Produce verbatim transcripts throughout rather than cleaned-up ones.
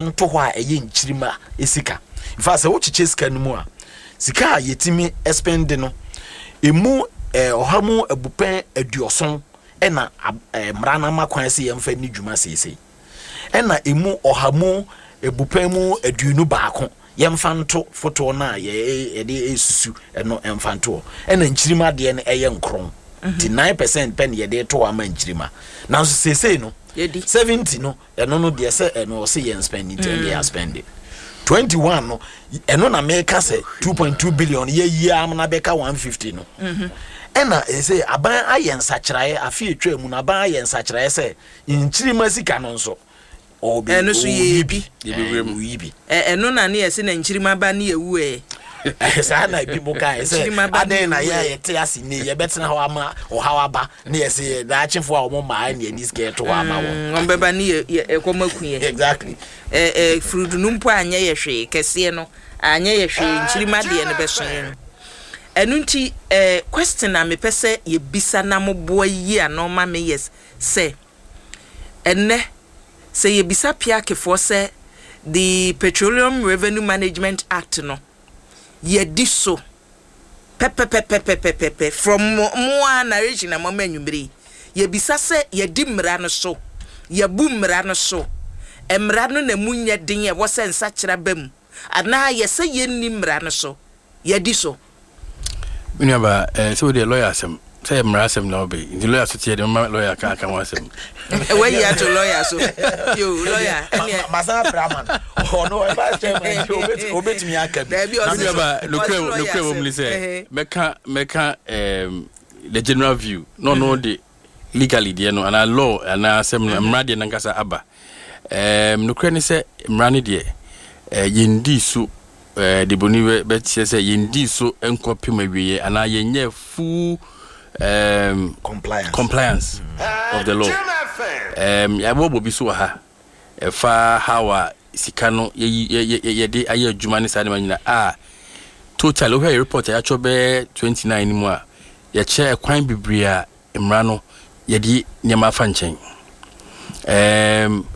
Nto hɔ a ɛyɛ nkyirima sika nfa sɛ wokyekyɛ sika no mu a, sika a yɛtumi spend no emu ɛɛ ɔha mu abupɛn aduɔson ɛna ɛɛ mmara no ama kwan sɛ yɛmfa ni dwuma seesei, ɛna emu ɔha mu ebupɛn mu aduonu baako yɛmfa nto fotoɔ no a yɛde esusu ɛno ɛmfa nto hɔ, ɛna nkyirima deɛ no ɛyɛ nkron, nti nine percent pɛ na yɛde to hɔ ama nkyirima. Nanso seesei no seventy no, ɛno no deɛ sɛ ɛno ɔsɛ yɛn spend, nti ɛno yɛ spend. Twenty one no, ɛno na meka sɛ two point two billion yɛyi amuna bɛka one fifty no. Ɛna ɛsɛ aban ayɛ nsakyerɛeɛ afe etwa mu no, aban ayɛ nsakyerɛeɛ sɛ nkyirima sika no nso ɔbɛ ɛno so yɛ bi. Ɔyi bi. Ɛno na ne yɛsɛ na nkyirima ba ne yɛwu ɛ. Saa na ebi mo ka sɛ adan na yɛ yɛte ase ne yɛbɛtena hɔ ama ɔhaw aba ne yɛsɛ yɛ daakyefoɔ a wɔn mmaa ne yɛde sika ɛto hɔ ama wɔn. Wɔn bɛba ne yɛ yɛ ɛkɔm aku yɛ. Exactly. ɛ ɛ furudunu mpo anyɛ yɛ hwee, kɛseɛ no anyɛ yɛ hwee, nkyirima deɛ no bɛso yɛn. Ɛno nti ɛɛ question a mepɛ sɛ yɛbisa na moboa yi a na ɔma me yɛ sɛ, ɛnɛ sɛ yɛbisa P I A C foɔ sɛ the Petroleum Revenue Management Act no, yɛdi so pɛpɛpɛpɛpɛpɛ from mo a narration na mama anwummere yi, yɛbisa sɛ yɛdi mmara no so, yɛbu mmara no so, mmara no na mu nyɛ den, ɛwɔ sɛ nsakyera ba mu, anaa yɛsɛ yɛnni mmara no so, yɛdi so? Me nuaba, eh, sɛ wodeɛ lawyer asɛm sɛ yɛ mmara asɛm na wobɛ, nti lawyer so teɛ de mama lawyer ka aka ho asɛm. Wayi ato lawyer so yo, lawyer ɛneɛ. Masan apra ama no, ɔno ɔyɛ chairman nti obetumi aka bi. Daabi, me ɔse nuaba, nokorɛ lawyer nokorɛ wɔ mu ne asɛm. sɛ mɛka mɛka um, the general view na ɔno de legally deɛ no anaa law anaa asɛm no, mmara deɛ nankasa aba. um, nokorɛ ne sɛ mmara no deɛ, eh, yɛndii so, eh, de boni bɛ- bɛkyerɛ sɛ yɛndii so nkɔpem awieɛ anaa yɛnyɛ full um, compliance. Compliance of the law. um, yɛabɔbɔ bi so wɔ ha ɛfa how a sika no yɛyi- yɛ- yɛ- yɛde ayɛ adwuma ne saa nneɛma nyina a total wohwɛ yɛ report a yɛatwerɛ bɛyɛ twenty-nine no mu a, yɛkyerɛ ɛkwan bebree a mmara no yɛde nneɛma afa nkyɛn. um,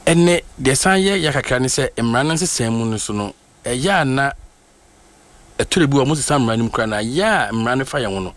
ɛnɛ deɛ san yɛ yɛ kakra ne sɛ mmara no nsesɛn mu no so no, ɛyɛ a na ɛtɔrɔ bi wɔ mo sesa mmara no mu koraa na yɛ a mmara no fa yɛn ho no.